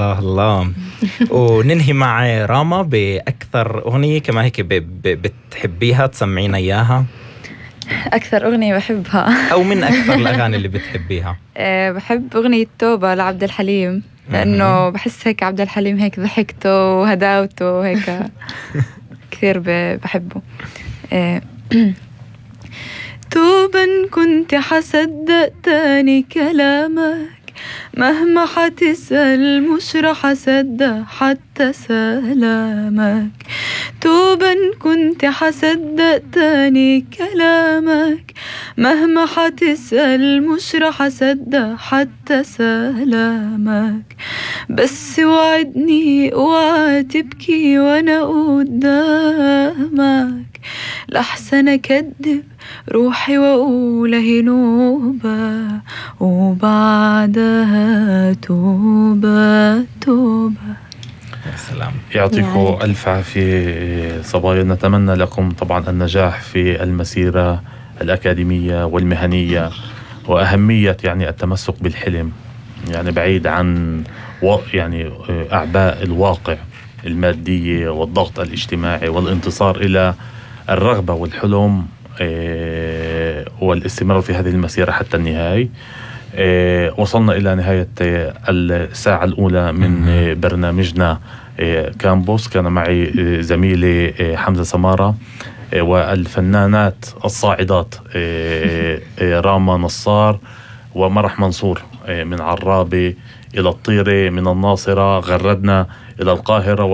الله الله. وننهي مع راما بأكثر أغنية كما هيك بتحبيها تسمعينا إياها. أكثر أغنية بحبها أو من أكثر الأغاني اللي بتحبيها؟ بحب أغنية توبة لعبد الحليم، لأنه بحس هيك عبد الحليم هيك ضحكته وهداوته هيك كثير بحبه. توبا كنت حصدق تاني كلامك، مهما حتسأل مش رح أصدق حتى سلامك. توبا كنت حصدق تاني كلامك، مهما حتسأل مش رح أصدق حتى سلامك. بس وعدني اوعى تبكي وانا قدامك، لحسن أكدب روحي وأقول هي نوبة وبعدها توبة توبة. السلام. يعطيكم ألف عافية صبايا. نتمنى لكم طبعا النجاح في المسيرة الأكاديمية والمهنية، وأهمية يعني التمسك بالحلم، يعني بعيد عن يعني أعباء الواقع المادية والضغط الاجتماعي، والانتصار إلى الرغبة والحلم والاستمرار في هذه المسيرة حتى النهاية. وصلنا إلى نهاية الساعة الأولى من برنامجنا كامبوس. كان معي زميلي حمزة سمارة، والفنانات الصاعدات راما نصار ومرح منصور من عرابة إلى الطيرة، من الناصرة غردنا إلى القاهرة.